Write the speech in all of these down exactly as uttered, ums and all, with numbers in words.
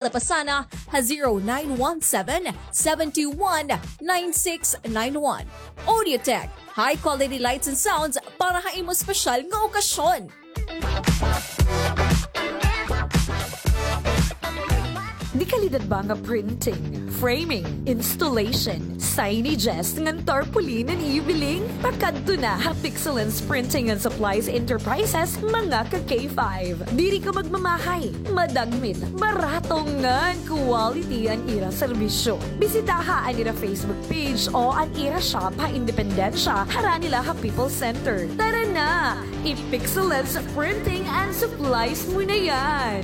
La Pasana ha zero nine one seven, seven two one, nine six nine one. Audiotech, high quality lights and sounds para ha imo espesyal nga okasyon. De-kalidad ba nga printing, framing, installation, signages ngan tarpaulin an iyo biling? Pakadto na ha Pixelance Printing and Supplies Enterprises, mga ka-K five. Diri ka magmamahay, madagmit, barato ngan quality an ira serbisyo. Bisitaha an ira Facebook page o an ira shop ha Independencia, harani la ha People's Center. Tara na! I-Pixelance Printing and Supplies mo na yan!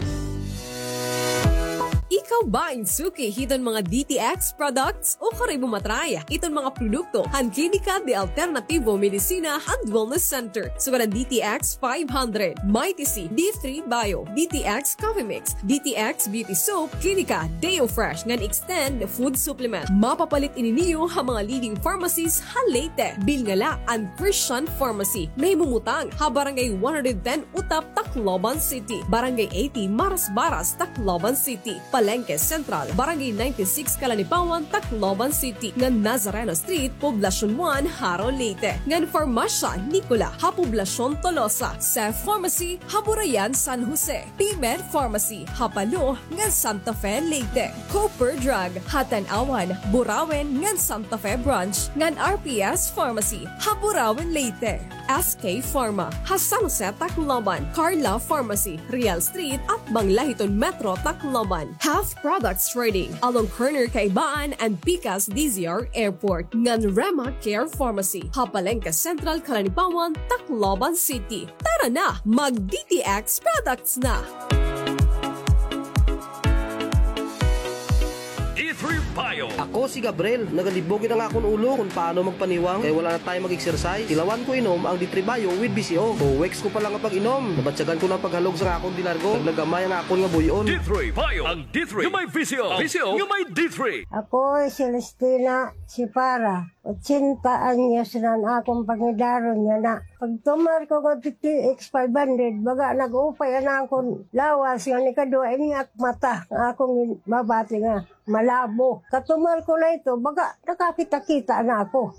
Ikaw ba in suki hiton mga D T X products? Ukon imo ma-try iton mga produkto han Klinika de Alternativo Medicina and Wellness Center, sugad han D T X five hundred, Mighty C, D three Bio, D T X Coffee Mix, D T X Beauty Soap, Klinika Deo Fresh ngan Extend Food Supplement. Mapapalit ini niyo ha mga leading pharmacies ha Leyte. Bilnga la an Christian Pharmacy, nahimumutang ha Barangay one hundred ten Utap, Tacloban City, Barangay eighty Marasbaras, Tacloban City, Palengke Central, Barangay ninety-six Calanipawan, Tacloban City, ngan Nazareno Street, Poblacion one, Jaro, Leyte, ngan Farmasya Nicola ha Poblacion Tolosa, Safe Pharmacy ha Burayan, San Jose, P-Med Pharmacy ha Palo ngan Santa Fe, Leyte, Cooper Drug ha Tanauan, Burauen ngan Santa Fe Branch, ngan R P S Pharmacy ha Burauen, Leyte. S K Pharma ha San Jose, Tacloban, Carla Pharmacy, Real Street, atbang la hiton Metro Tacloban, Half Products Trading, along corner Kaibaan and Pikas D Z R Airport, ngan Rema Care Pharmacy ha Palengke Central, Calanipawan, Tacloban City. Tara na, mag-D T X products na! D three Bio. Ako si Gabriel. Nagalibog na an akon ulo kon paano magpaniwang kay wala na tayo mag-exercise. Tilawan ko inom ang D three Bio with B C O. Two weeks ko pa lang nga pag-inom, nabatyagan ko na an paghalog sa akon de largo. Nagnagamay ang akon nga buy-on. D three Bio. Ang D three nga may B C O. B C O nga may D three. Ako si Celestina Sipara. Ochenta anyos na an akon pangidaron yana. Pagtumar ko ngadto D T X five hundred, baga nag-upay an akon lawas, ngan ikaduha ini ak mata, nga akon mabati nga malabo. Katumar ko na ito, baga nakakita-kita na ako.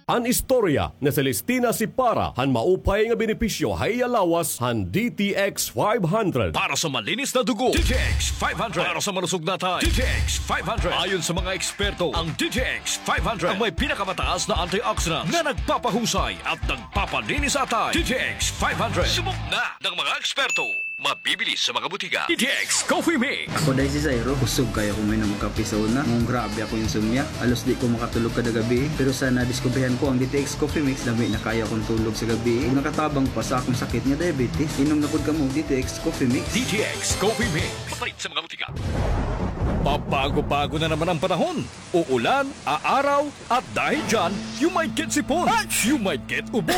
An istorya ni Celestina Sipara han maupay nga benepisyo ha iya lawas han D T X five hundred. Para sa malinis na dugo, D T X five hundred. Para sa malusog na atay, D T X five hundred. Ayon sa mga eksperto, ang D T X five hundred ang may pinakamataas na antioxidant na nagpapahusay at nagpapalinis sa atay. D T X five hundred. Subok na ng mga eksperto. Mabibili sa mga butika. D T X Coffee Mix. Ako diay si Zairo. Kusog kaayo ako moinom og kape sa una. Ngan grabe akon insomnia. Halos di ko makatulog kada gabii. Pero sa nadiskubrihan ko ang D T X Coffee Mix, lami na kaayo akon tulog sa gabii. Ug nakatabang pa sa akon sakit nga diabetes. Inom na pod kamo og D T X Coffee Mix. D T X Coffee Mix. Mapalit sa mga butika. Pabago-bago na naman ang panahon. Uulan, aaraw, at dahil dyan, you might get sipon, you might get ubo,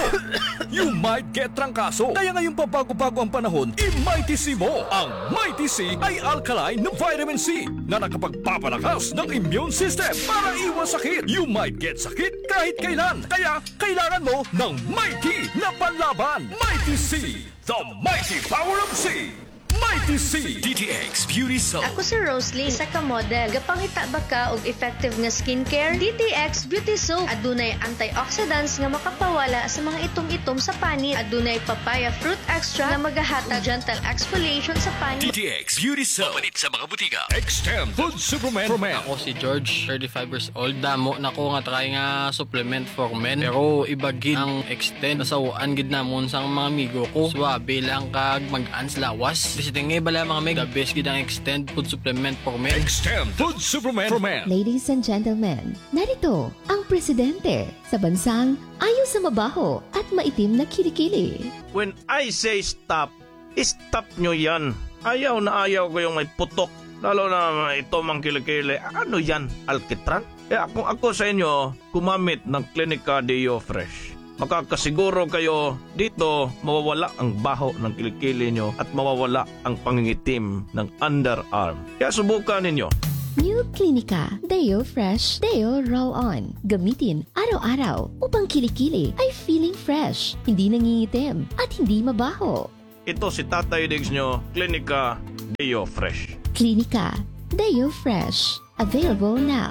you might get trangkaso. Kaya ngayong pabago-bago ang panahon, i-Mighty C mo. Ang Mighty C ay alkaline na vitamin C na nakapagpapalakas ng immune system para iwas sakit. You might get sakit kahit kailan. Kaya kailangan mo ng Mighty na panlaban. Mighty C, the mighty power of C. Mighty C. D T X Beauty Soap. Ako si Roslyn, isa ka model. Gapangita ba ka og effective nga skincare? D T X Beauty Soap. Adunay antioxidants nga makapawala sa mga itom-itom sa panit. Adunay papaya fruit extract nga magahatag gentle exfoliation sa panit. D T X Beauty Soap. Mapalit sa mga butika. Extend Food Supplement for Men. Ako si George, thirty-five years old. Damo na ko nga try nga supplement for men. Pero iba gid ang Extend. Nasaw-an gid namon sa mga amigo ko. Suabe lang kag mag-an sa lawas. Basta nga bala mga meg, the best gid ang Extend food supplement for men. Extend food supplement for men. Ladies and gentlemen, narito ang presidente sa bansang ayaw sa mabaho at maitim na kilikili. When I say stop, stop nyo yan. Ayaw na ayaw ko yung may putok. Lalo na ito mang kilikili. Ano yan? Alkitran? Kaya kung ako sa inyo, gumamit ng Clinica Deo Fresh. Makakasiguro kayo dito mawawala ang baho ng kilikili nyo at mawawala ang pangingitim ng underarm. Kaya subukan ninyo. New Clinica Deo Fresh Deo Roll On. Gamitin araw-araw upang kilikili ay feeling fresh, hindi nangingitim, at hindi mabaho. Ito si Tatay Diggs nyo, Klinika Deo Fresh. Klinika Deo Fresh. Available now.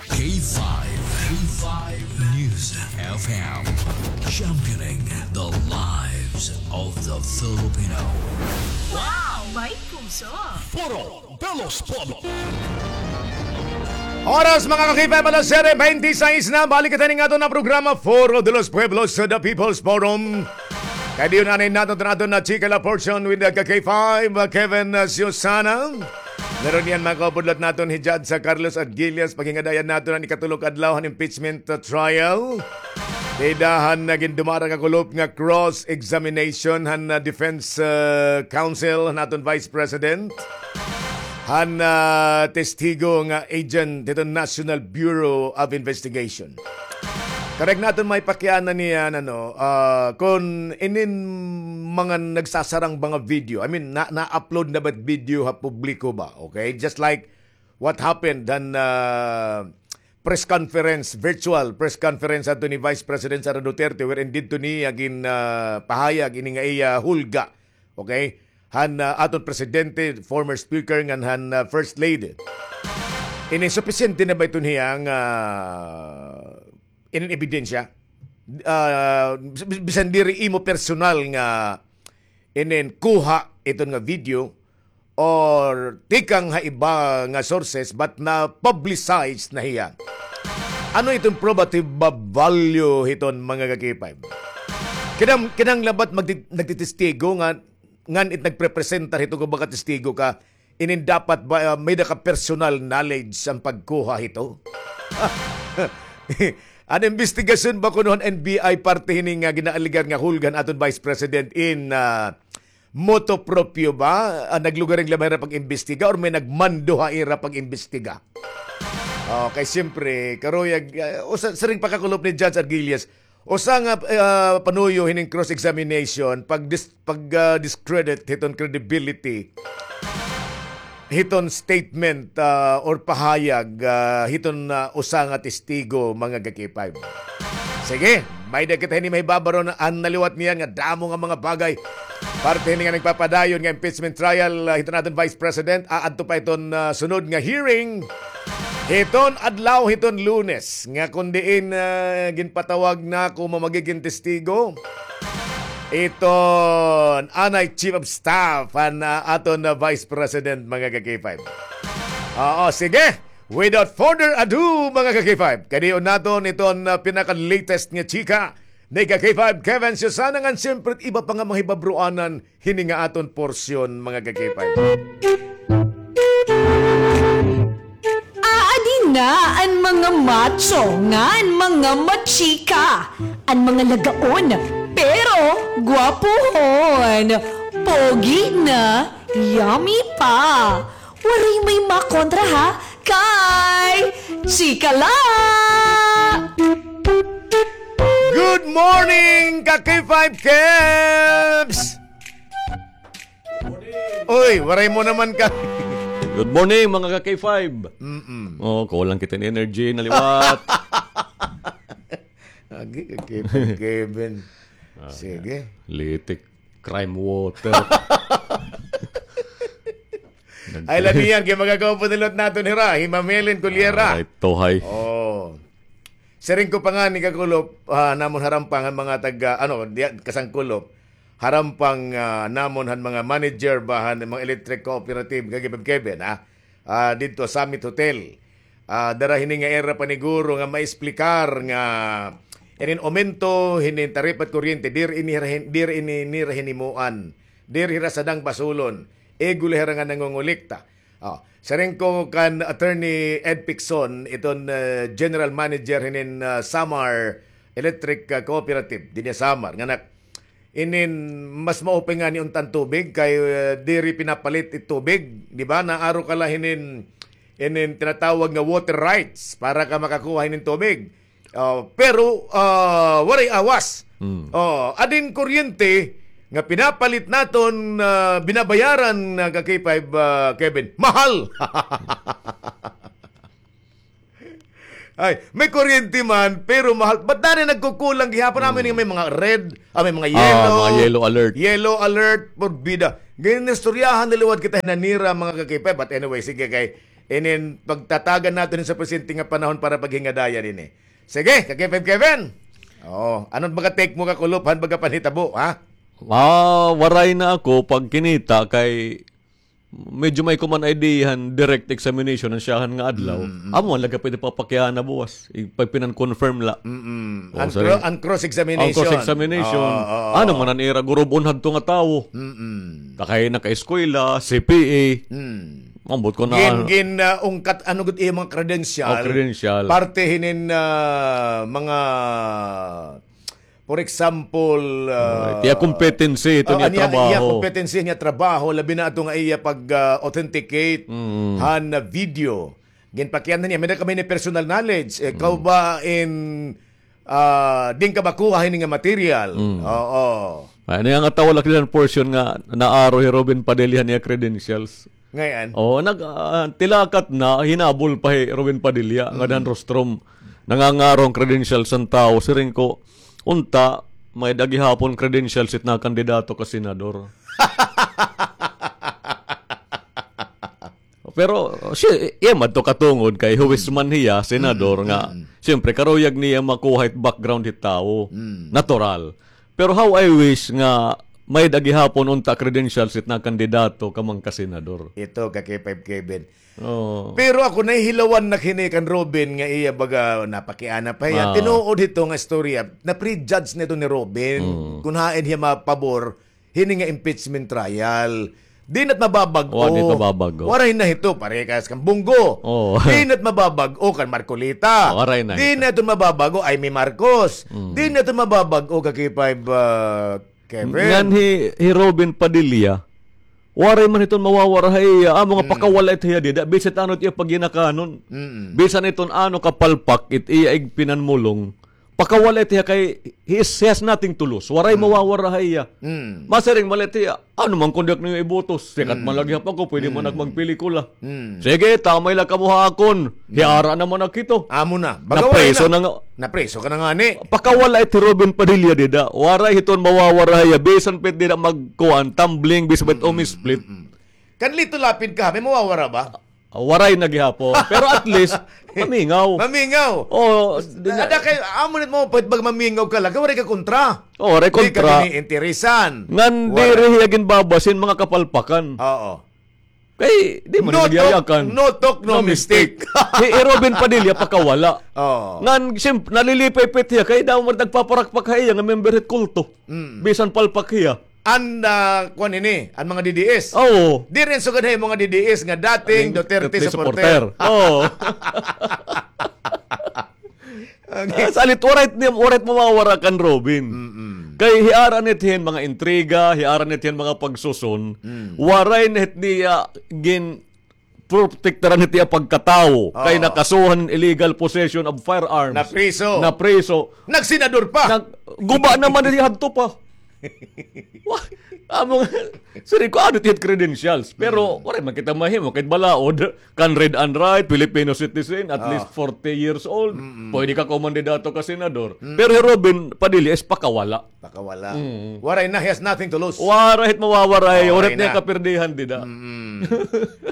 K five, K five News F M, championing the lives of the Filipino. Wow! May puso! Foro de los Pueblos. Oras, mga ka-K five, alas siyete bente seis na. Balik kita ning aton na programa, Foro de los Pueblos, the People's Forum. Kay diyon anay naton, naton na chika la portion with the ka-K five, uh, Kevin, uh, Susana. Meron niyan, mga kaupod, liwat naton hi Judge, uh, Carlos Arguillas, paghingadayan naton an ikatulo ka adlaw han impeachment, uh, trial. Dida han, uh, gindumara kakulop nga cross-examination han, uh, defense, uh, counsel han aton Vice President. Han, uh, testigo nga agent hiton National Bureau of Investigation. Karuyag naton maipakiana niyan, ano, ah, kon inin mga nagsasarang mga video, I mean, na, na-upload na ba it video ha publiko ba? Okay? Just like what happened han, ah, press conference, virtual press conference adto ni Vice President Sara Duterte, wherein didto niya gin, ah, pahayag ini nga iya hulga. Okay? Han, ah, aton presidente, former speaker, ngan han, ah, first lady. Ini, supisyente na ba iton hiya nga, ah, inin ebidensya? Ah, bis-, bisan diri imo personal nga inin kuha iton nga video or tikang ha iba nga sources, but na-publicize na hiya. Ano iton probative ba-, value hiton, mga ka-K five? Kinang-, kinahanglan ba it magti-, nagtitestigo nga ngan it nagprepresentar hito, kon baga testigo ka, inin dapat ba, ah, may-ada ka personal knowledge han pagkuha hito? An imbestigasyon ba kuno han N B I parte hini nga ginaalegar nga hulga han aton Vice President in, ah, motu proprio ba? Ah, naglugaring la ba hira pag-imbestiga or may nagmando ha ira pag-imbestiga? Okay, siyempre, karuyag, ah, usa, siring pagkakulop ni Judge Arguillas, usa nga, ah, panuyo hining cross-examination, pag dis-, pag, ah, discredit hiton credibility hiton statement, ah, or pahayag, ah, hiton, ah, usa nga testigo, mga ka-K five. Sige, may-ada kita hini mahibabaro na an naliwat niyan nga damo nga mga bagay. Parte hini nga nagpapadayon nga impeachment trial, ah, hiton aton Vice President, aadto pa iton, ah, sunod nga hearing. Hiton adlaw hiton Lunes, nga kon diin, ah, ginpatawag nako nga magigin testigo iton anay Chief of Staff han, ah, aton, ah, Vice President, mga ka-K five. Oo, sige. Without further ado, mga ka-K five, kadion naton iton, ah, pinaka-latest nga chika ni ka-K five Kevin Susana, ngan siyempre iba pa nga mahibabroanan hini nga aton porsyon, mga ka-K five. Aadi na an mga macho ngan mga machika, an mga lagaon, pero gwapohon, pogi na, yummy pa. Waray may makontra, ha, kay chika la! Good morning, ka-K five Kebs! Uy, waray mo naman ka. Good morning, mga ka-K five. Mm-mm. Oh, kulang kita hin energy, naliwat. Agi, ka-K five Kevin. Ah, sige. Litik, crime water. Ay, lagi yan, kay mga kaupo nilot naton hira, hi Ma'am Helen Cullera. Ay, tuhay. Oh. Siring ko pa ngani kakulop, ah, namon harampang han mga taga, ano, diya, kasangkulop. Harampang, ah, namon han mga manager ba han mga electric cooperative, ka-K five Kevin, ha? Ah, didto Summit Hotel. Ah, dara hini nga ira paniguro nga maesplikar nga inin aumento hinin taripa it kuryente, diri ini hira hin-, diri ini nira hinimuan, diri hira sadang basulon, igo la hira nga nangongolekta. Oh, siring ko kan Attorney Ed Picson, iton, ah, General Manager hinin, ah, Samar Electric, ah, Cooperative dinhi ha Samar, nga nak-, inin mas mao pa ngani unta an tubig kay, ah, diri pinapalit it tubig, di ba? Naaro ka la hinin, inin tinatawag nga water rights para ka makakuha hinin tubig. Ah, pero, ah, waray awas. Mm. Oh, adin kuryente nga pinapalit naton, ah, binabayaran, ah, ka-K five, ah, Kevin. Mahal. Ay, may kuryente man, pero mahal. Ba't dani nagkukulang gihapon? Amo ini may mga red, ah, may mga yellow. Ah, mga yellow alert. Yellow alert, porbida. Ginistoryahan na liwat kita hinan nira, mga ka-K five. But anyway, sige, kay inin pagtatagan naton sa presente nga panahon para paghingadayan ini. Sige, ka-K five Kevin. Oo, ano baga take mo, kakulop han baga panhitabo, ha? Ah, waray na ako pagkinita kay medyo may kuman idea han direct examination han siyahan nga adlaw. Mm, mm. Amo man la gihap it papakiana buwas. Ipagpinan-confirm la. Mm, mm. O, an, sorry, cro-, an cross-examination. An cross-examination. Oo, oo. Ano man an ira gurub-on hadto nga tawo? Mm. Takay nakaeskwela, C P A. Mm. Ambot ko na. Gin, gin, ah, ungkat, ano gud iya mga credential? O, credential. Parte hinin, ah, mga, for example, ah, it iya competency, ito niya trabaho. Iya competency niya trabaho, labi na ato nga iya pag, ah, authenticate han, ah, video. Ginpakiana niya, may-ada kami ni personal knowledge. Ikaw ba in, ah, diin ka ba kuha hini nga material? Mm. Oo. Ay, ano nga tawag la kilan portion nga naaro hi Robin Padilla niya credentials? Ngay-an. Oo, nag, ah, tilakat na, hinabol pa hi Robin Padilla, nga han rostrum. Nangangaro hin credentials an tawo, siring ko, unta, may-ada gihapon credentials it nakandidato ka senador. Pero, si, iya man adto katungod kay huwis man hiya, senador nga, siyempre, karuyag niya makuha it background hit tawo. Natural. Pero how I wish nga may-ada gihapon unta credentials it nakandidato ka mangkasenador. Ito, ka-K five Kevin. Oo. Pero ako nahihilawan na hini kan Robin nga iya baga napakiana pa hiya. Ah. Tinuod hito nga istorya. Na-prejudge na ito ni Robin. Mm. Kun hain hiya mapabor hini nga impeachment trial. Di na't mababag-o. Wa, di mababag-o. Waray na hito, parehas kan Bong Go. Oo. Di na't mababag-o kan Marcoleta. Waray na hito. Di na ito mababag-o Imee Marcos. Mm. Di na ito mababag-o ka-K five, ah, Kevin. Ngan hi, hi Robin Padilla, waray man hiton mawawara ha iya. Amo nga pakawala it hiya dida. Bisan ano it iya pagginakanon. Mm. Bisan iton ano kapalpak it iya igpinanmulong. Pakawala it hiya kay he is, he has nothing to lose. Waray mawawara ha iya. Mm. Masiring man la it hiya, ano man kon di ak niyo iboto, sikat man la gihap ako, pwede man ak magpelikula. Mm. Sige, tamay la kamo ha akon. Hiara naman ak hito. Amo na. Baga waray na. Napriso na nga. Napriso ka na ngani. Pakawala it hi Robin Padilla dida. Waray hiton mawawara ha iya. Bisan pa it dida magkuan, tumbling, bisan pa it umisplit. Mm, mm, mm. Kan Lito Lapid ka, may mawawara ba? Ah, waray na gihapon. Pero at least, mamingaw. Mamingaw. Oo, di na. Ada kay, amo nit mo, pwede pag mamingaw ka la, kay waray ka kontra. Oo, waray kontra. Di ka giniinteresan. Ngan diri hiya ginbabasin mga kapalpakan. Oo. Kay, di man nagyayakan. No talk, no mistake. Hi, hi Robin Padilla, pakawala. Oo. Ngan, siyempre, nalilipay pa it hiya, kay daw man nagpaparakpak ha iya nga member hit kulto. Mm. Bisan palpak hiya. An, ah, kuan ini, an mga D D S. Oo. Diri sugad ha mga D D S nga dating Duterte supporter. Oo. Okay. Ah, salit, waray it niya, waray it mawawara kan Robin. Mm-mm. Kay hiara nit hin mga intriga, hiara nit hin mga pagsuson, mm, waray nit niya gin protektaran hit iya pagkatawo, kay nakasuhan illegal possession of firearms. Napriso. Napriso. Nagsenador pa. Nag-, guba naman hiya hadto pa. Wa-, amo nga, siring ko, ano it iya credentials? Pero, waray man kita mahimo, kay balaod, kan read and write, Filipino citizen, at least forty years old, pwede ka kumandidato ka senador. Pero hi Robin Padilla is pakawala. Pakawala. Mm. Waray na, he has nothing to lose. Waray it mawawara, waray it niya kapirdihan dida. Mm.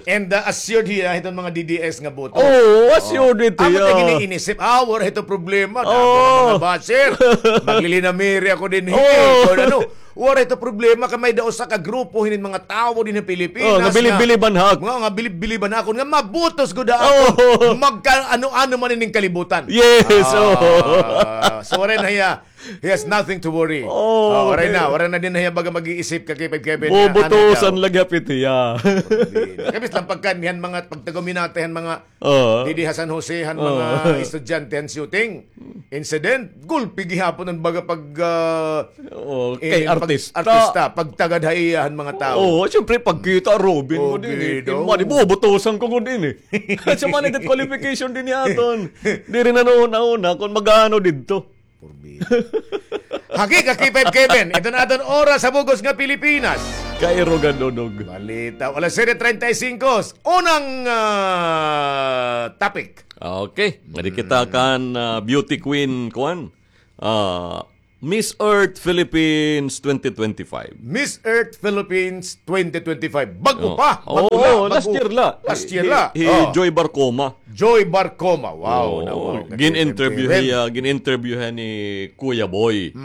And, uh, assured hiya hiton mga D D S nga boto. Oo, assured it hiya. Amo it iya giniinisip, ah, waray ito problema. Damo nga mga basher. Maglilinamiri ako dinhi. Oo. Kay ano, waray ito problema kay may-ada usa ka grupo hinin mga tawo dinhi Pilipinas nga bilib-biliban ha ak-, nga, nga bilib-biliban ha akon, nga mabutos gud ha akon. Oo. Magka-ano-ano man ining kalibutan. Yes, oo. So, waray na hiya. He has nothing to worry. Oh, waray na, waray na dinhi hiya baga mag-iisip ka, Kevin, Kevin. Bubutusan la gihap it hiya. Kay bisan pagkaon han mga pagtagom hinatay han mga didi ha San Jose, han mga estudyante han shooting incident, gulpi gihapon an baga pag, ah, kay artista, pagtagad ha iya han mga tawo. Oo, siyempre, pagkita, Robin mo dinhi, bubutusan ko gud ini. Sa man it qualification dinhi aton. Diri na noon, nauna, kung mag-ano didto. Purbida. Hagi ka, K five Kevin. Ito na aton oras ha bug-os nga Pilipinas. Kairugan, Dodog. Balita. Alas siyete treinta y cinco. Unang, ah, topic. Okay. Ngadi kita kan, ah, beauty queen, kuan. Ah, Miss Earth Philippines twenty twenty-five. Miss Earth Philippines twenty twenty-five. Bago pa. Bago la, last year la. Last year la. Hi Joy Barcoma. Joy Barcoma. Wow. Gin-interview hiya, gin-interview hiya ni Kuya Boy.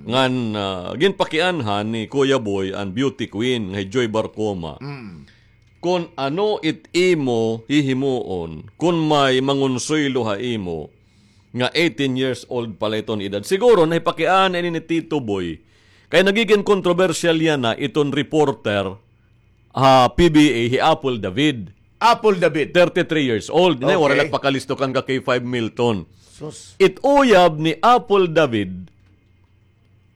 Ngan, ah, ginpakianhan ni Kuya Boy an beauty queen nga hi Joy Barcoma. Kon ano it imo hihimuon, kon may mangonsuelo ha imo, nga eighteen years old pa la iton edad. Siguro, nahipakiana ini ni Tito Boy. Kay nagigin kontrobersyal yana iton reporter ha P B A, hi Apple David. Apple David. Thirty-three years old. Nay, waray la pakalisto kan ka K five Milton. Sus. It uyab ni Apple David,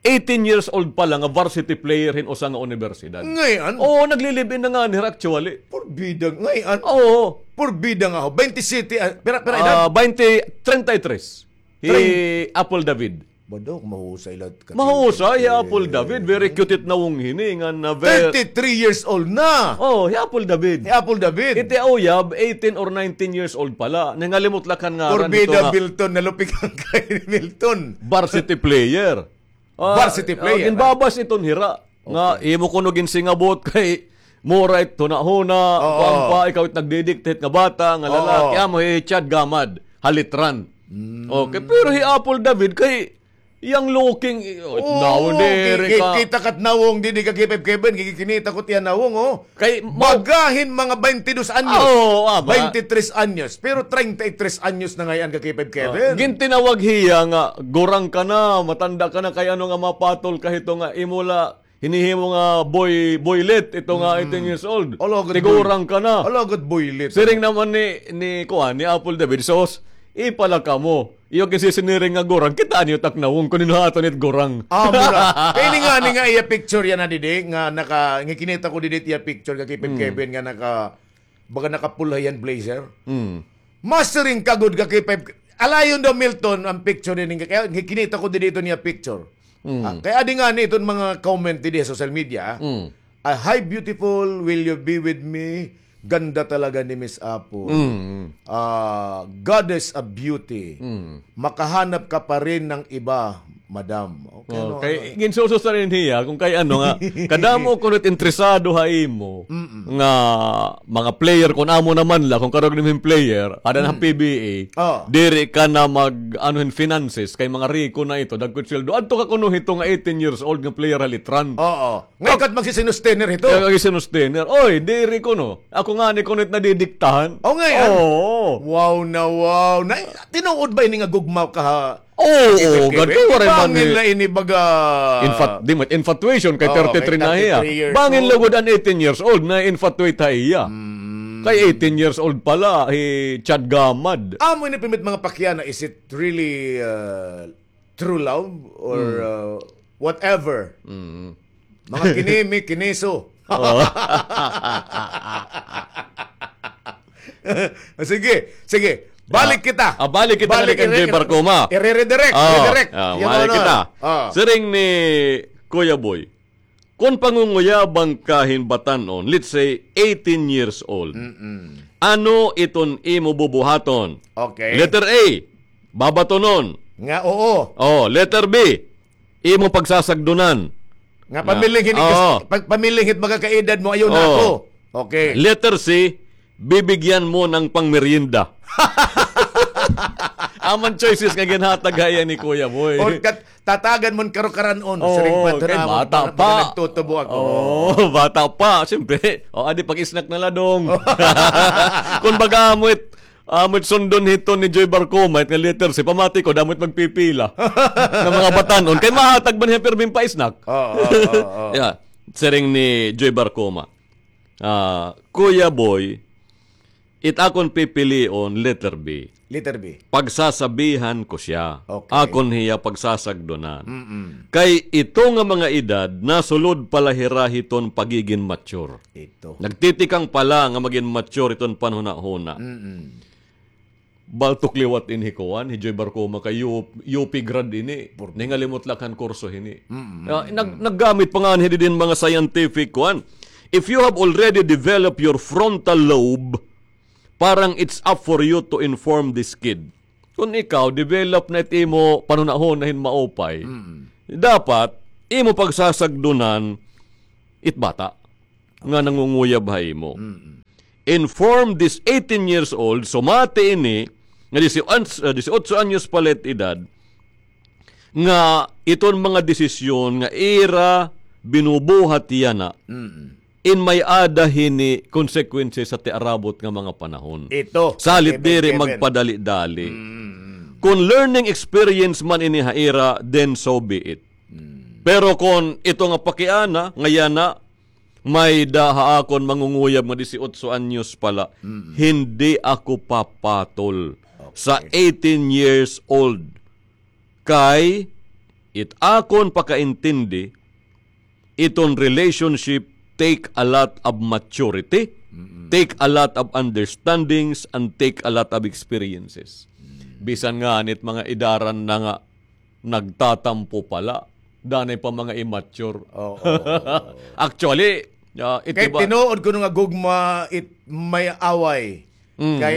eighteen years old pa la nga varsity player hin usa nga unibersidad. Ngay-an? Oo, nagli-live-in na ngani hira actually. Porbida, ngay-an? Oo. Porbida nga ho. Twenty-seven, ah, pira, pira edad? Ah, twenty, treinta y tres. Hi Apple David. Ba daw, mahusay la. Mahusay, hi Apple David. Very cute it nawong hini, nga na very thirty-three years old na. Oh, hi Apple David. Hi Apple David. Iti uyab, eighteen or nineteen years old pa la. Nangalimot la kan ngaran. Porbida, Milton, nalupikan kay Milton. Varsity player. Ah, varsity player, ah, ginbabas iton hira. Nga, imo kuno ginsingabot kay mura it hunahuna, kuan pa, ikaw it nagdidikta hit nga bata, nga lalaki, amo hi Chad Gamad, halitran. Okay, pero hi Apple David kay young looking, eh, oh, nawong diri ka. Kita kat nawong didi ka K five Kevin, gikinita ko tiyan nawong, oh. Kay baga hin mga twenty-dos anyos. Oo, ama. Twenty-tres anyos, pero treinta y tres anyos na ngay-an ka K five Kevin. Gintinawag hiya nga, gurang ka na, matanda ka na, kay ano nga mapatol ka hito nga imo la hinihimo nga boy, boylet, ito nga eighteen years old. Ala gud, tigurang ka na. Ala gud boylet. Siring naman ni, ni kuan, ni Apple David, sos, ipala kamo. Iyo ginsisiniring nga gurang, kitaa niyo tak nawong, kun hino aton it gurang. Ah, mura. Kay ini ngani nga iya picture yana didi, nga naka, nga kinita ko didi iya picture, ka K five Kevin, nga naka, baga nakapula hiya hin blazer. Masiring ka gud ka K five. Alayon daw Milton an picture ini, kay kinita ko didi iton iya picture. Ah, kay adi ngani iton mga comment didi ha social media, ah. Ah, "Hi beautiful, will you be with me?" Ganda talaga ni Miss Apple. Ah, "Goddess of beauty." Makahanap ka pa rin ng iba, madam. Okay, no, kay ano? Ginsususa rin hiya, kung kay ano nga, kadamo kuno it interesado ha imo, nga mga player, kung amo naman la, kung karog nimo hin player, ada na ha P B A, diri ka na mag, ano, hin finances, kay mga riko na ito, dagko it sweldo. Adto ka kuno hito nga eighteen years old nga player ha Litran. Oo. Ngay-an ka it magsisinustener hito. Kay magsisinustener. Oy, diri kuno. Ako ngani kuno it nadidiktahan. O, ngay-an. Oo. Wow na wow. Na, tinuod ba ini nga gugma ka ha? Oo, gad, waray man. Bangin la ini baga. Infat-, di mo, infatuation kay thirty-three na hiya. Bangin lugod an eighteen years old na infatuate ha iya. Kay eighteen years old pa la, hi Chad Gamad. Amo ini pirmi it mga pakiana, is it really, uh, true love or, uh, whatever. Mga kinimi, kiniso. Sige, sige. Balik kita. Ah, balik kita, balik kan Joy Barcoma. Ire-redirect, redirect. Ah, balik kita. Siring ni Kuya Boy. Kon pangunguyabang ka hin batan-on, let's say, eighteen years old, ano iton imo bubuhaton? Okay. Letter A, babatonon. Nga oo. Oh, letter B, imo pagsasagdonan. Nga pamiling hin, pag-, pamiling hit magkakaedad mo, ayaw na ako. Okay. Letter C, bibigyan mo ng pangmeryenda. Amo an choices nga ginhatag ha iya ni Kuya Boy. Or kat-, tatagan mo hin karukaran-on. Oo, siring pa ito kay na, bata pa. Nagtutubo ako. Oo, bata pa. Siyempre, o, adi pag-snack na la, dong. Kon baga amo it, amo it sundon hito ni Joy Barcoma, it nga letter C, pamati ko, damo it magpipila nga mga batan-on. Kay mahatag man hiya pirmi hin pa-snack. Oo, oo, oo. Yeah. Siring ni Joy Barcoma. Ah, Kuya Boy, it akon pipilion, letter B. Letter B. Pagsasabihan ko siya. Okay. Akon hiya pagsasagdonan. Mm-mm. Kay ito nga mga edad, nasulod pa la hira hiton pagigin mature. Ito. Nagtitikang pa la nga magin mature iton panhunahuna. Mm-mm. Baltok liwat ini hi kuan, hi Joy Barcoma kay U-, U P grad ini. Nangalimot la kan kurso hini. Mm, mm, ah, nag-, mm. Naggamit pa ngani didi hin mga scientific kuan. If you have already developed your frontal lobe, parang it's up for you to inform this kid. Kon ikaw, develop na it imo panhunahuna hin maupay, mm. Dapat, imo pagsasagdunan, it bata nga nangunguyab ha imo. Mm-mm. Inform this eighteen years old, sumati ini, nga disiotso, ah, disiotso anyos pa la it edad, nga iton mga desisyon nga ira binubuhat yana, Mm-mm. in may-ada hini consequences ha tiarabot nga mga panahon. Ito, Salit diri magpadali-dali. Mm-mm. Kon learning experience man ini ha ira, then so be it. Mm. Pero kon ito nga pakiana, nga yana, may-ada ha akon mangunguyab nga disiotso anyos pa la, Mm-mm. hindi ako papatol Okay. sa eighteen years old. Kay it akon pakaintindi, iton relationship take a lot of maturity, Mm-mm. take a lot of understandings, and take a lot of experiences. Mm. Bisan ngani it mga edaran na nga nagtatampo pa la, danay pa mga immature. Oo, oo, oo. Actually, ah, it Kay iba tinuod kuno nga gugma it may away. Mm. Kay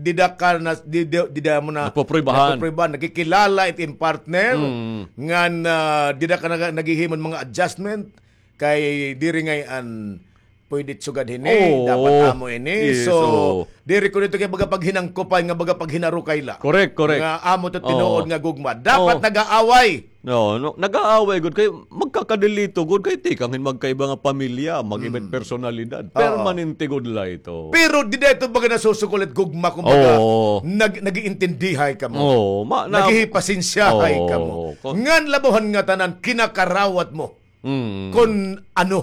dida ka na, di-, di-, dida mo na Napupruibahan. napupruibahan, nakikilala it im partner, Mm. ngan, ah, dida ka naga-, naghihimo hin mga adjustment, kay diri ngay-an pwede sugad hini, Oo. dapat amo ini. Yes, So, oo. diri kuno ito kay baga paghinangkupan nga baga paghinarukay la. Correct, correct. Nga amo to tinuod Oo. nga gugma. Dapat Oo. nag-aaway. No, no, nag-aaway gud kay magkakadelito gud kay tikang hin magkaiba nga pamilya, mag-iba it Mm. personalidad. Oo. Permanente gud la ito. Pero dida ito baga nasusukol it gugma, kumbaga, Oo. nag-, nag-iintindihay kamo. Oo, ma-, na-, Naghihipasensyahay Oo. kamo. Kon- Ngan labaw han ngatanan, kinakarawat mo Mm. kon ano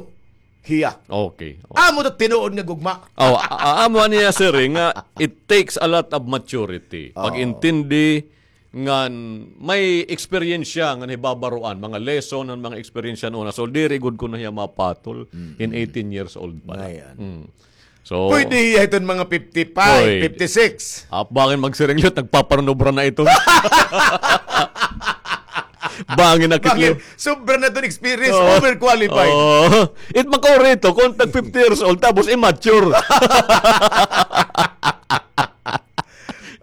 hiya. Okay. Amo to tinuod nga gugma. Oh, a-, a-, amo niya, sir, eh, nga it takes a lot of maturity. Oo. Pag-intindi ngan may eksperyensya nga nahibabaroan, mga lesson, an mga eksperyensya una. So, diri gud kuno hiya mapatol in Mm. eighteen years old pa la. Ayan. Mm. So, Pwede hiya hiton mga fifty-five, Pwede. fifty-six. Ah, bangin magsiring liwat, nagpaparnobra na ito. Bangin na Bangin, kitlo. sobra na iton experience, Oo. overqualified. Oo. It makauri ito, kung tag fifty years old, tapos immature.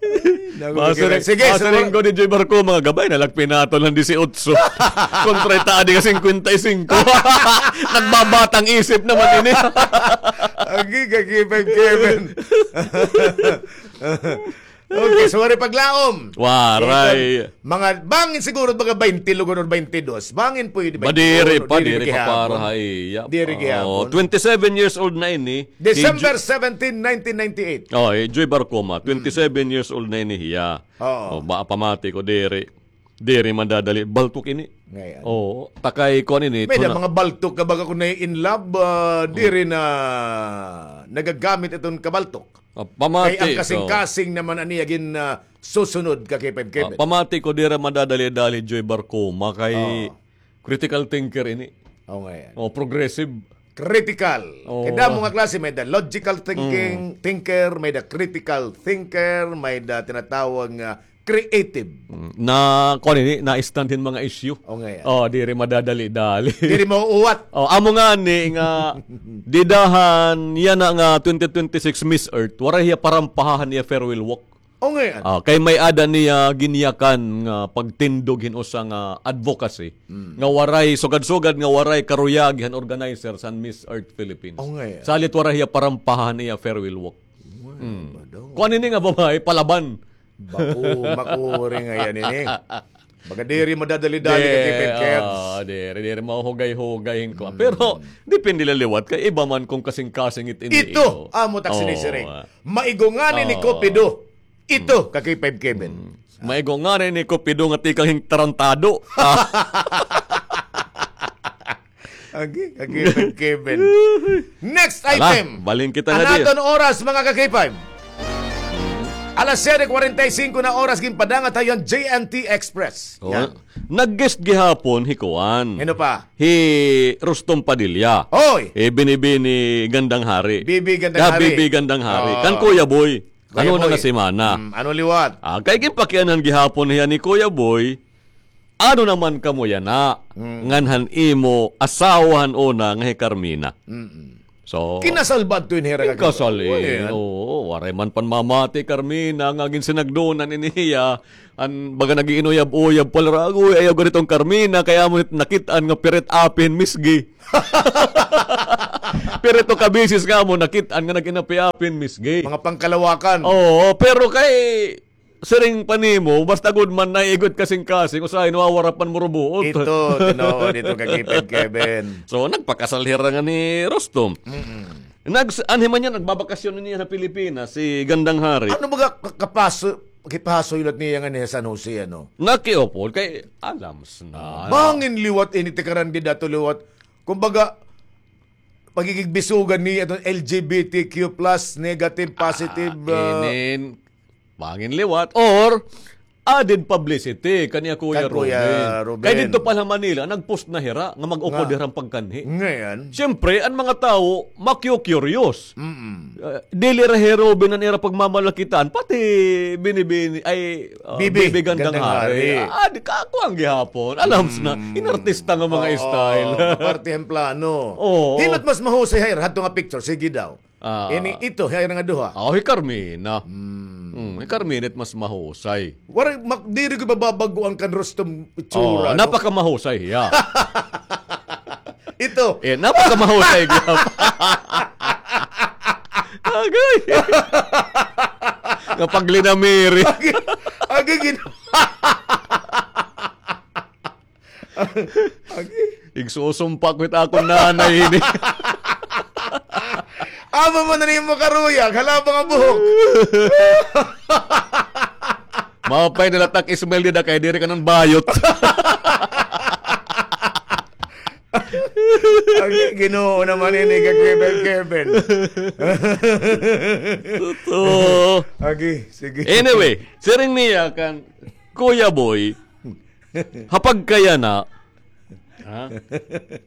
Ay, naku, Masiring, sige, sige, masiring siguro ko ni Joy Barco, mga gabay, nalagpinato ng disiotso. Kontra ita, adi ka singkwenta y singko. Nagbabatang isip naman ini. Agi ka, Kevin, Kevin. Okay, so, waray paglaom. Waray. Mga, bangin siguro, mga baynte lugod or baynte dos. Bangin pwede, Madiri baynte uno, pa, diri diri pa gihapon. para ha iya. Diri Oo, gihapon. twenty-seven years old na ini. December seventeen, nineteen ninety-eight. Oh, eh, Joy Barcoma, Mm. twenty-seven years old na ini hiya. Oo. Oh, ba, pamati ko, diri. Diri madadali. Baltok ini. Ngayon. Oo, takay kuan ini, May da tuna- mga baltok ka baga kung na-in love, ah, diri na nagagamit iton kabaltok. Ah, pamati Kay ang ko. kasing-kasing naman ani agin, ah, susunod ka kay Five Ah, Kevin. pamati ko, diri madadali-dali, Joy Barcoma, kay Oo. critical thinker ini. Oo, ngayon. Oh, progressive. Critical. Oo. Kay damo nga klase, may da logical thinking, Mm. thinker, may da critical thinker, may da tinatawag nga creative. Mm. Na, kuan ini, na-stand hin mga issue. Oo, ngayon. Oh, diri madadali-dali. Diri mauuwat. Oh, amo ngani nga, dida han, yana nga twenty twenty-six Miss Earth, waray hiya parampaha han iya farewell walk. O, ngay-an. Ah, kay may-ada niya ginyakan nga pagtindog hin usa nga advocacy Mm. nga waray, sugad-sugad nga waray karuyag han organizer san Miss Earth Philippines. O, ngay-an. Salit waray hiya parampaha han iya farewell walk. Uy, Mm. ba daw? Kuan ini nga babaye, palaban. Bako, makuri ngay-an ini. Baga diri madadali-dali Di, ka, Kevin Kevs. ah, diri, diri mahuhugay-hugay hin kuan. Mm. Pero, depende la liwat kay iba man kung kasing-kasing it ini Ito, ito. amo tak Oh, sinisiring. ah. Maigo ngani ni Oh. Cupido. Ito, Mm. ka K five Kevin. Mm. Maigo ngani ni Cupido nga tikang hin tarantado. Ah. Agi, ka K five Kevin. Next Ala, item. balhin kita An na di. aton oras, mga ka K five. Alas siyete kwarenta y singko na oras, ginpadangat ha iyo an J N T Express. Oh, Yan. nag-guest gihapon, hi kuan. Hino pa? Hi Rustom Padilla. Oy! Eh, Binibini Gandang Hari. Bibi Gandang Ya, Hari. Bibi Gandang Hari. Oh. Kan Kuya Boy. Kuya Ano na Boy. nga semana? Mm, ano liwat? Ah, kay ginpakianhan gihapon hiya ni Kuya Boy, ano naman kamo yana? Mm. Ngan han imo asawa han una nga hi Carmina. Mm-mm. So, kinasal ba adto ini hira? Kasal, eh. Oo, waray man panmamati, Carmina, nga ginsinagdonan ini hiya. An baga nag-iinuyab-uyab pa la, agoy, ayaw gad iton Carmina, kay amo nakit-an nga pirit apin misgi. Pero ito kabisis nga amo, nakit-an nga nag-inapi-apin, Miss Gay. Mga pangkalawakan. Oo, pero kay siring pa nimo, basta gud man naigot kasingkasing, usahay nawawara pan murubuot. Ito, tinuod ito kay Kevin, Kevin. So, nagpakasal hira nga ni Rostom. Mm-mm. Nags-, anhi man niya, nagbabakasyon niya sa Pilipinas, si Gandang Hari. Ano ba ka-, kapaso-, kipasoy lat niya nga ni San Jose, ano? Nakiupod, kay alams na. Bangin liwat ini, tikaran gid ato liwat. Kumbaga, pagigigbisugan ni aton L G B T Q plus, negative, positive, ah, inin, bangin liwat, or added publicity kaniya Kuya Ruben. Kay didto pa la Manila, nag-post na hira nga mag-upod hira pagkanhi. Ngayon? Siyempre, an mga tawo, makiu-curious. Mm-mm. Ah, dili ra hi Ruben an ira pagmamalakitaan, pati Binibini, ay, ah, Bibi, Bibi Gandang Hari. Ah, di ka, ako an gihapon. Alams na, inartista nga mga style. Oo, parte an plano. Oo. Hin-o it mas mahusay ha ira hadto nga picture? Sige daw. Ah. Ini, ito, ha ira nga duha. Ah, hi Carmina. Hmm. Hmm, hi Carmina it mas mahusay. Waray, mak-, diri ko bababag-o an kan Rostom itsura, no? Napakamahusay hiya. Ito. Eh, napakamahusay gihap. Agay. Nga paglinamiri. Agay, agay, gin- Agay. Igsusumpa ko it akon nanay ini. Amo man na nimo karuyag, halaba nga buhok. Maupay na la it ak smile dida kay diri ka nan bayot. Ay, Ginoo naman ini, ka Kevin, Kevin. Totoo. Agi, sige. Anyway, siring niya kan Kuya Boy, ha pagkayana, ha?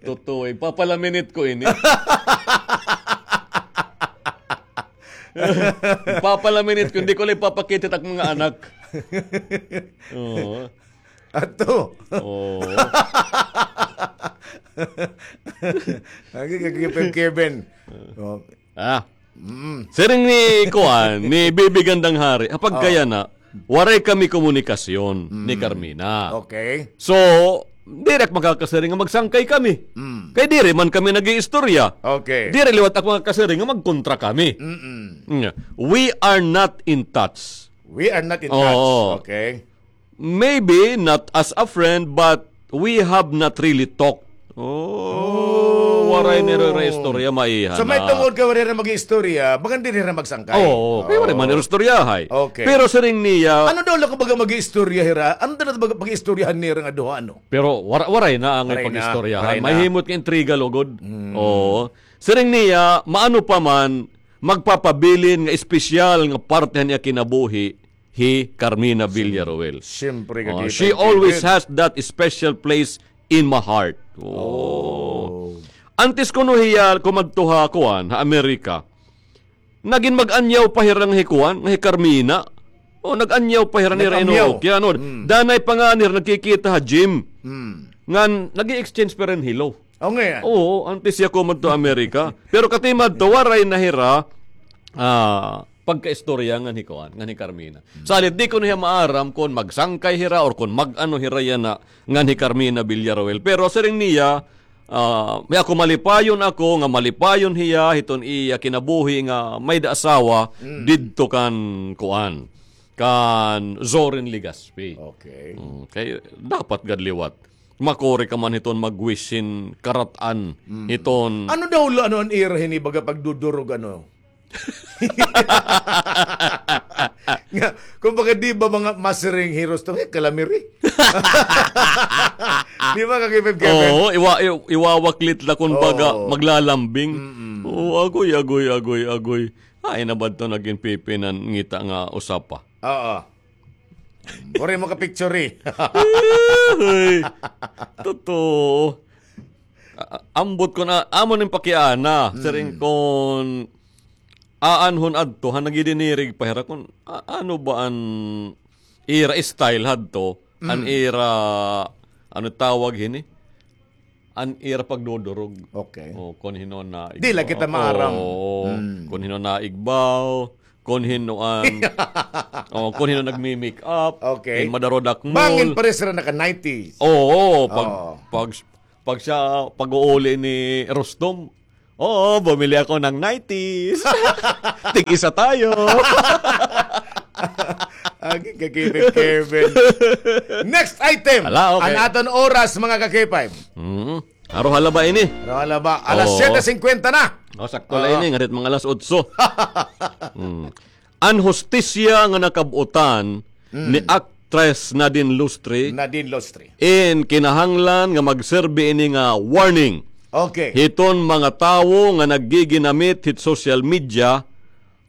Totoo, ipapalaminit ko ini. Ipapalaminit ko, hindi ko lang ipapakita it ak mga anak. Oo. Ato. Oo. Lagi kay Kevin, Kevin. Oh. Ah. Mm. Siring ni kuan, ni Bibi Gandang Hari, ha pagkayana, waray kami komunikasyon ni Carmina. Okay. So, diri ak makakasiring nga magsangkay kami. Mm. Kay diri man kami nag-iistorya. Okay. Diri liwat ak makakasiring nga magkontra kami. Mm-mm. Mm. We are not in touch. We are not in touch. Oo. Okay. Maybe not as a friend, but we have not really talked. Oh, waray nira istorya, maiha na. So, may tungod kay waray nira mag-iistorya, bagan diri nira magsangkay. Oo, kay waray man nira istoryahay. Okay. Pero siring niya, ano daw la kumbaga mag-iistorya hira? Ano daw la kumbaga pag-iistoryahan nira nga duha, ano? Pero wara-, waray na angay pag-iistoryahan. Mahimot nga intriga lugod. Mm. Oo. Siring niya, maano pa man, magpapabilin nga espesyal nga parte han iya kinabuhi, hi Carmina Villaruel. Siyempre, oh, she always has that special place in my heart. Oh. Antes kuno hiya kumadto ha kuan, ha Amerika, nagin mag-anyaw pa hira nga hi kuan, nga hi Carmina. Oh, nag-anyaw pa hira nira. Nag-anyaw. Danay pa nga nira nagkikita ha gym. Hmm. Ngan nag-i-exchange pa hin hello. Oo, antes hiya kumadto Amerika. Pero katimadto, waray na hira, ah, pagkaistorya ngan hi kuan, ngan hi Carmina. Salit di ko na hiya maaram kon magsangkay hira or kon mag-ano hira yana ngan hi Carmina Villaruel. Pero siring niya, ah, may ako malipayon ako nga malipayon hiya hiton iya kinabuhi nga may-da asawa didto kan kuan, kan Zorin Legaspi. Okay. Mm, kay dapat gad liwat makuri ka man hiton mag-wish hin karat-an hiton. Ano daw la, ano, an ira hini baga pagdudurog, ano? Nga, kumbaga, di ba mga masiring heroes to, eh, kalamiri? Di ba, Kakipit Kevin? Oo, iwa-, i-, iwawaklit la kun baga maglalambing. Mm-mm. Oo, agoy, agoy, agoy, agoy. Ay, na ba ito nagin pipinan ngita nga usapa? Oo. Waray makapicture, eh. Uy, totoo. A-, ambot ko na, amo ning pakiana. Hmm. Siring kon aanhon adto, han nagidinirig pa hira kon, a-, ano ba an ira style hadto, an ira, ano tawag hini? an ira pagdudurog. Okay. O, kon hin-o na Di la kita maaram. Oo. Hmm. Kon hin-o naigbaw, kon hin-o an, o, kon hin-o nagmi-make up, Okay. in madarodakmol. Bangin pares ra naka nineties. Oo, pag, Oo. pag, pag siya, pag-uuli ni Rustom, "Oo, bumili ako ng nineties." Tig-isa tayo. Agi, kakipay Kevin. Next item. Ala, okay. An aton oras, mga ka-K five. Mm. Aro hala ba ini? Aro hala ba? Alas Oo. siyete singkwenta na. O, sakto la Oo. ini, ngarit mga alas otso. Mm. An hustisya nga nakab-utan Mm. ni Actress Nadine Lustre Nadine Lustre. in kinahanglan nga magserbi ini nga warning Okay. hiton mga tawo nga naggiginamit hit social media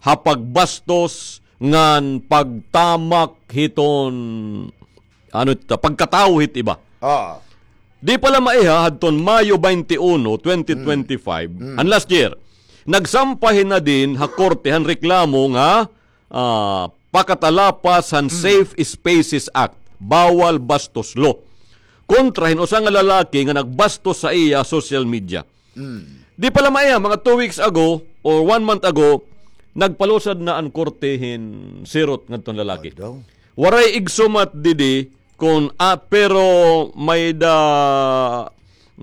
ha pagbastos ngan pagtamak hiton, ano ito, pagkatawo hit iba. Oo. Di pa la maiha hadton Mayo twenty-one, twenty twenty-five, Mm. an last year, nagsampay hi Nadine ha korte han reklamo nga, ah, pakatalapas han Mm. Safe Spaces Act, Bawal Bastos Law, kontra hin usa nga lalaki nga nagbastos sa iya social media. Mm. Di pa la maiha, mga two weeks ago or one month ago, nagpalusad na an korte hin sirot ngadton lalaki. Adaw. Waray igsumat didi kon, ah, pero may da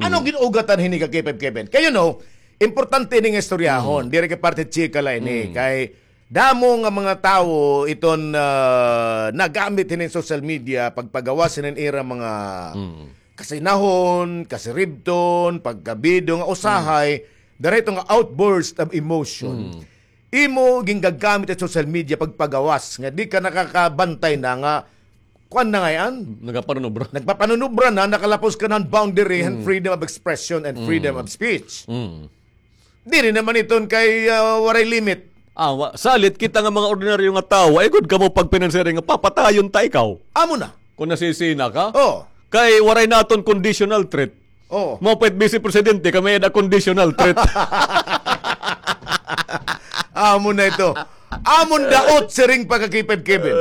Ano Mm. gin-ugatan hini ka K five Kevin? Kay, you know, importante ini nga istoryahon. Mm. Diri kay parte chika la ini. Mm. Kay damo nga mga tawo iton, ah, nagamit hini social media pagpagawas hini ira mga Mm. kasinahon, kasiribton, pagkabido nga usahay, Mm. dara ito nga outburst of emotion. Mm. Imo gingagamit an social media pagpagawas nga di ka nakakabantay na nga kuan na ngay-an. Nagapanunubra. Nagpapanunubra na, nakalapos ka na han boundary han Mm. freedom of expression and freedom Mm. of speech. Mm. Diri naman iton kay, ah, waray limit. Ah, wa-, salit kita nga mga ordinaryo nga tawo, ay gud kamo pagpinansiring nga papatayon ta ikaw. Amo na. Kung nasisina ka? Oh. Kay waray naton conditional threat. Oh. Mao pa it Vice Presidente kay may-ada conditional threat. Amo na ito. Amon daot siring pa ka K five Kevin.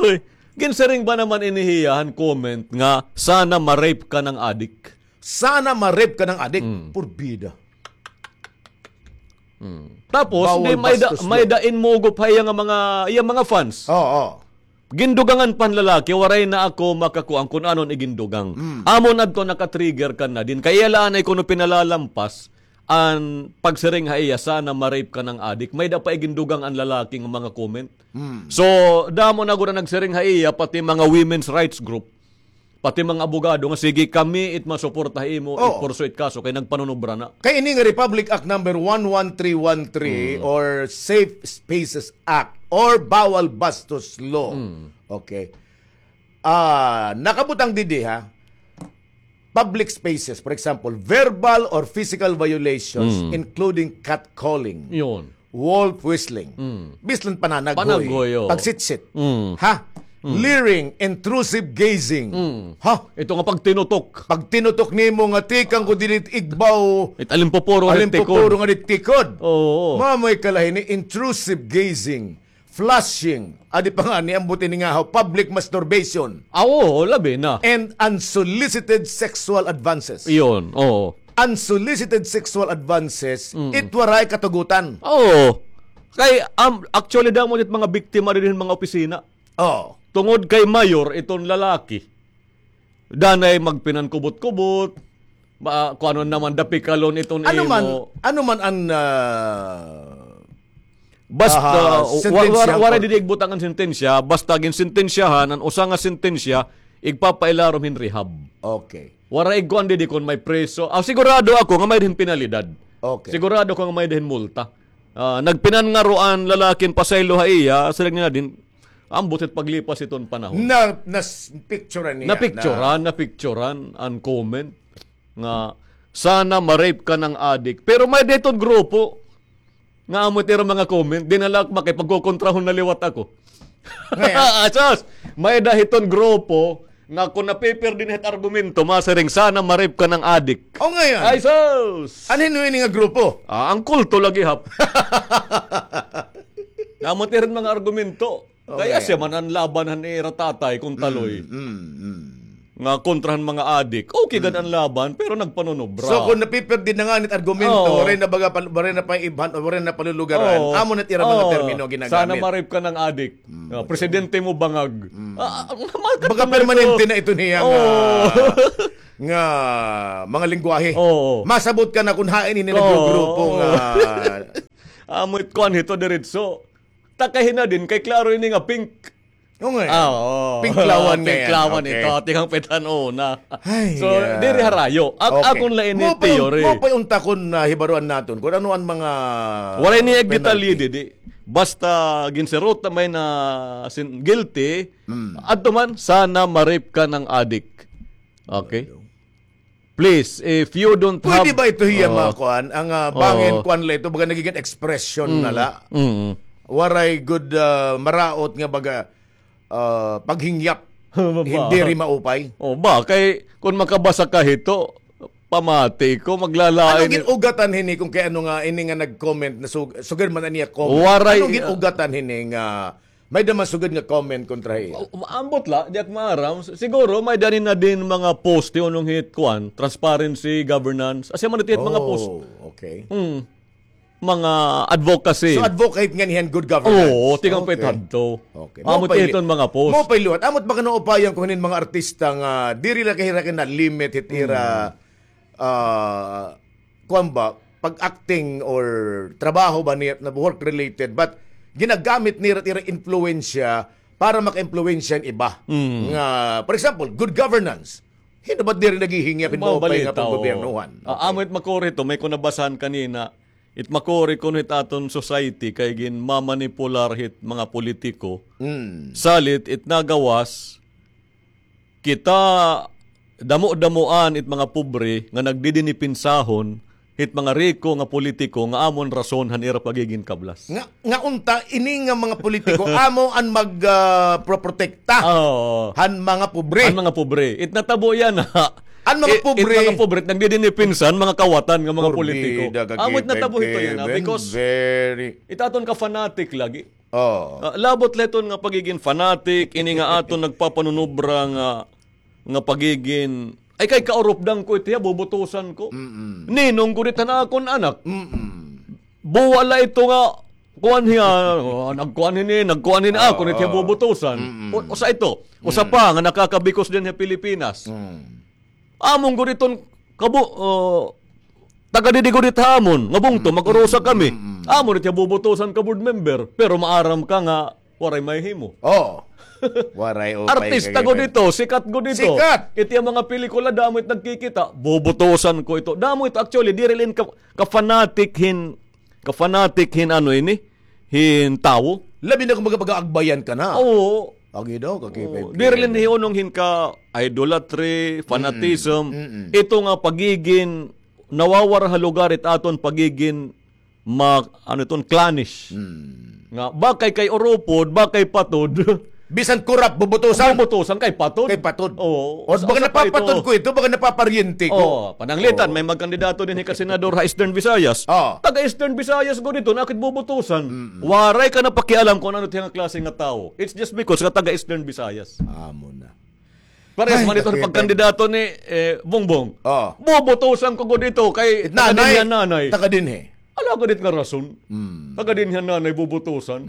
Uy, ginsiring ba naman ini hiya han comment nga sana ma-rape ka ng adik? Sana ma-rape ka ng adik? Mm. Purbida. Mm. Tapos, Bawal di may da, bastos may law. da inmugop ha iya nga mga, iya mga fans. Oo, oo. Gindugangan pa han lalaki, waray na ako makakuan kun anon igindugang. Mm. Amo na adto naka-trigger ka na din. Kay iya la anay kuno pinalalampas an pagsiring ha iya, sana ma-rape ka ng adik. May da pa igindugang an lalaki nga mga comment. Mm. So, damo na gud an nagsiring ha iya, pati mga women's rights group. Pati mga abogado nga, sige, kami it masuporta ha imo, Oo. i-pursue it kaso, kay nagpanunubra na. Kay ini nga Republic Act number one one three one three Mm. or Safe Spaces Act or Bawal Bastos Law. Mm. Okay. Ah, nakabutang didi, ha? Public spaces, for example, verbal or physical violations, Mm. including catcalling. Yun. Wolf whistling. Mm. Bisan pananaghoy. Panaghoy, oo. Pagsitsit. Mm. Ha? Mm. Leering, intrusive gazing. Mm. Ha? Ito nga pagtinutok. Pagtinutok nimo nga tikang ko dinhi igbaw. It alimpupuro nga tikod. Alimpupuro nga tikod. Oo. Mao may kalahi ni intrusive gazing, flashing, adi pa nga ni ambot ini nga public masturbation. Ah, oo, labi na. And unsolicited sexual advances. Iyon, oo. Unsolicited sexual advances, Mm. it waray katugutan. Oo. Kay, um, actually, damo it mga biktima diri hin mga opisina. Oo. Tungod kay mayor iton lalaki. Danay magpinankubot-kubot, ma-, kuanon naman, dapikalon iton Ano man, imo. ano man an, ah, Basta, ah, wa-, wa-, sentensya waray ko. didi igbutang an sentensya, basta ginsentensyahan, an usa nga sentensya, igpapailarom hin rehab. Okay. Waray igkuan didi kon may preso. Ah, sigurado ako nga may hin penalidad. Okay. Sigurado ako nga may hin multa. Ah, nagpinangaroan lalakin pasaylo ha iya, siring nila din, ambot it paglipas iton panahon. Na, nas-, picturean niya. Napicturan, na napicturan an comment nga, "Sana ma-rape ka ng adik." Pero may diton grupo nga amo tira mga comment, di na la makipagkukontrahon na liwat ako. Ngayon? Asos! May dahiton grupo nga kung napipir din hit argumento, masiring, "Sana ma-rape ka ng adik." O, ngayon? Ay, sus! Ano yun nga grupo? Ah, ang kulto lagi, hap. Naman tirin mga argumento. Okay. Kaya siya man ang laban han ira tatay kung taloy. Mm, mm, mm. nga kontra han mga adik. Okay gad an laban, pero nagpanunubra. So, kung napiperdi na ngani it argumento, waray na baga pal-, waray na paibhan, waray na palulugaran, amo na it ira mga termino ginagamit. Sana ma-rape ka ng adik. Ah, presidente mo bangag. Ah, ah, baga permanente na ito niya nga, nga mga lengguwahe. Masabot ka na kung hain ini naggugrupo nga. Amo it kuan hito diretso. Takahin na din, kay klaro ini nga pink. Oo nga. Ah, oo. Pinklawan nga yan. Pinklawan ito. Tikang pitan una. So, diri harayo. Ak-, akon la ini theory. Mao pa unta kon, ah, hibaruan naton kung ano an mga penalty. Waray niya detalye didi. Basta ginsirota may na sin-, guilty, adto man, sana ma-rape ka ng adik. Okay? Please, if you don't have... Pwede ba ito hiya mga kuan? Ang, ah, bangin kuan la ito, baga nagiging expression na la. Waray gud, ah, maraot nga baga, ah, paghingyap. Hindi rin maupay. O ba, kay kung makabasa ka hito, pamati ko, maglalain. Ano gin-ugatan hini kung kay ano nga, ini nga nag-comment na sug-, sugad man niya comment? Waray, ano gin-ugatan hini nga may-ada man sugad nga comment kontra hiya? Ambot la, di ak maaram. Siguro, may-ada na din mga post, unong hit, kuan, transparency, governance. Asya man ito hit mga post. Oh, okay. Hmm. Mga advocacy. So, advocate nga niyan good governance. Oo, tikang pit hadto. Okay. Amo it hiton mga post. Mao pay liwat. Amo it baka naupayan ko hinin mga artista nga diri la kahirakan na limit hit ira, ah, kuan ba, pag-acting or trabaho ba niya na work-related, but ginagamit nira ira impluwensya para maka-impluwensya an iba. Nga, for example, good governance. Hin-o ba diri naghihingyap hin maupay nga panggobyernohan? Ah, amo it makuri to, may ko nabasahan kanina, it makuri kuno hit aton society kay ginmamanipular hit mga politiko. Salit it nagawas, kita damo-damoan it mga pobre nga nagdidinipinsahon hit mga riko nga politiko nga amo an rason han ira pagigin kablas. Nga, nga unta, ini nga mga politiko, amo an mag, ah, proprotekta han mga pobre. Han mga pobre. It natabo yana. An mga pobre. It mga pobre, it nagdidinipinsa han mga kawatan nga mga politiko. Amo it natabo hito yana, because it aton ka-fanatic lagi. Oh. Ah, labot la hiton nga pagigin fanatic, ini nga aton nagpapanunubra nga, nga pagigin, ay kay kaurupdan ko ito hiya, bubutusan ko. Ninong gud it han akon anak. Buwa la ito nga, kuan hiya, oh, nagkuan hini, nagkuan hini, akon ito hiya bubutusan. O, usa ito, usa pa nga nakakabikos dinhi ha Pilipinas. Amon gud iton kabo-, oh, taga didi gud it ha amon, nga bungto, mag-urusa kami. Amon it hiya bubutusan ka board member, pero maaram ka nga waray mahimo. Oo. Waray upay. Artista gud ito, sikat gud ito. Sikat. It hiya mga pelikula, damo it nagkikita, bubutusan ko ito. Damo ito, actually, diri la in ka, ka-fanatic hin, ka-fanatic hin ano ini, hin tawo. Labi na kung magpagaagbayan ka na. Oo. Agi daw, ka-K five K. Diri la in hiunong hin ka-idolatry, fanatism. Ito nga pagigin nawawara ha lugar it aton pagigin ma-, ano iton, clannish. Nga, bakay kay urupod, bakay patod. Bisan kurap, bubutusan. Bubutusan kay patod. Kay patod. Oo. O, baka napapatod ko ito, baka napaparyente ko. Oo, pananglitan, may magkandidato dinhi ka senador ha Eastern Visayas. Oo. Taga Eastern Visayas gud ito, nakit bubutusan. Waray ka na pakialam kung ano it hiya nga klase nga tawo. It's just because nga taga Eastern Visayas. Amo na. Parehas man ito pagkandidato ni, eh, Bongbong. Oo. Bubutusan ko gud ito kay taga dinhi an nanay. Taga dinhi. Ala gud it nga rason. Taga dinhi an nanay bubutusan.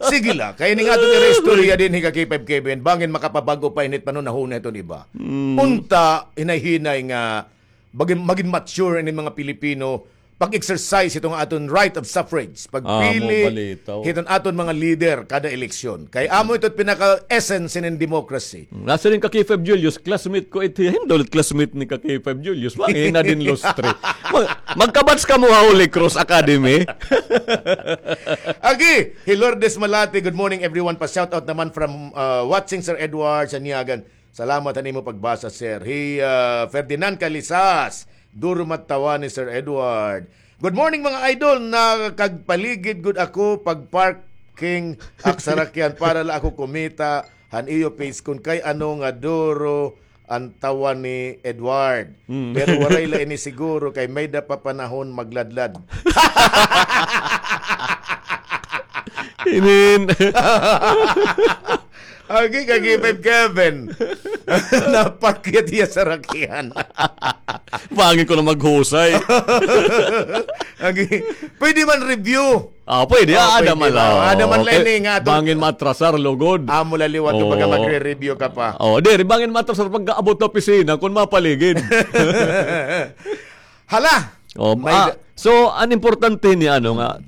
Sige la, kay ini nga aton ira istorya dinhi ka K five K B N, bangin makapabag-o pa ini it panhunahuna hiton iba. Unta, hinay-hinay nga magin, magin mature ini mga Pilipino, pag-exercise hiton aton right of suffrage, pagpili hiton aton mga leader kada eleksyon. Kay amo ito it pinaka-essence hinin democracy. Nasiring ka K five Julius, classmate ko ito. Hindol classmate ni ka K five Julius. Wa, eh, na din lustre. Mag-, magkabats kamo ha Holy Cross Academy. Agi, hi Lourdes Malate, good morning everyone. Pa-shoutout naman from, uh, watching Sir Edward Sanyagan. Salamat han imo pagbasa, sir. Hi, uh, Ferdinand Calisas, duro matawan ni Sir Edward. Good morning, mga idol. Nakagpaligid gud ako pag parking ak sarakyan para la ako kumita han iyo page kun kay ano nga duro an tawan ni Edward. Pero waray la ini siguro kay may-da pa panahon magladlad. Inin. Agi ka K five Kevin. Napakyat hiya sa rakihan. Bangin ko na maghusay. Agi, pwede man review. Ah, pwede. Oh, ah, ada pwede man ba? Ada man la ini nga aton. Bangin maatrasar, lugod. Amo la liwat ko pagka magre-review ka pa. Oh, diri, bangin maatrasar pagkaabot ha opisina kon mapaligid. Hala! Oh, may ah, da- so, an importante ni ano nga,